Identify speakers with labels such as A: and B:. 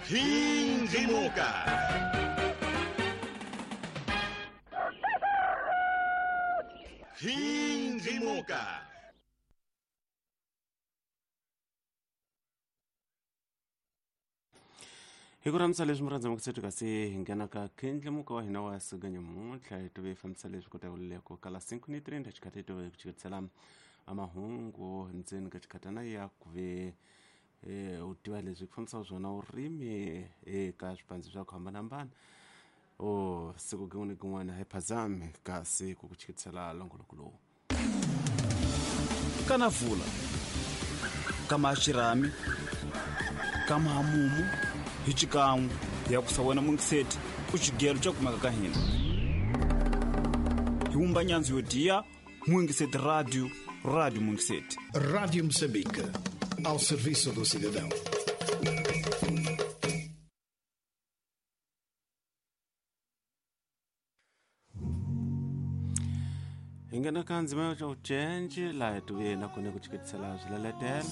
A: Khindlimuka. Khindlimuka.
B: Hi ku rhambisa leswi murhandza mukutsetu kasi hi nghena ka khindlimuka wa hina wa siku nyamuntlha hi tive hi fambisa leswi kota ku kala 5 ni 30 xikhathi hi tive hi ku chiketisela amahungu ndzeni ka xikhatana ya ku ve u tiva leswi ku fambisaka swona vurimi eka swipandzi swa ku hambanahambana o siku kin'wana ni kin'wana hi phazami kasi ku ku chiketisela longoloko lowu.
C: Kana vula kama xirhami kama hamumu hi xikan'we ya ku sa wena mungiseti ku xigelo xa kumeka ka hina hi wumba nyandzu yo diya Mungiseti Radio, Rádio Mungiseti.
D: Rádio Moçambique, ao serviço do cidadão.
B: Hi nghena ka ndzima yo ucenji laha hi tive na kone ku chiketisela swileletelo.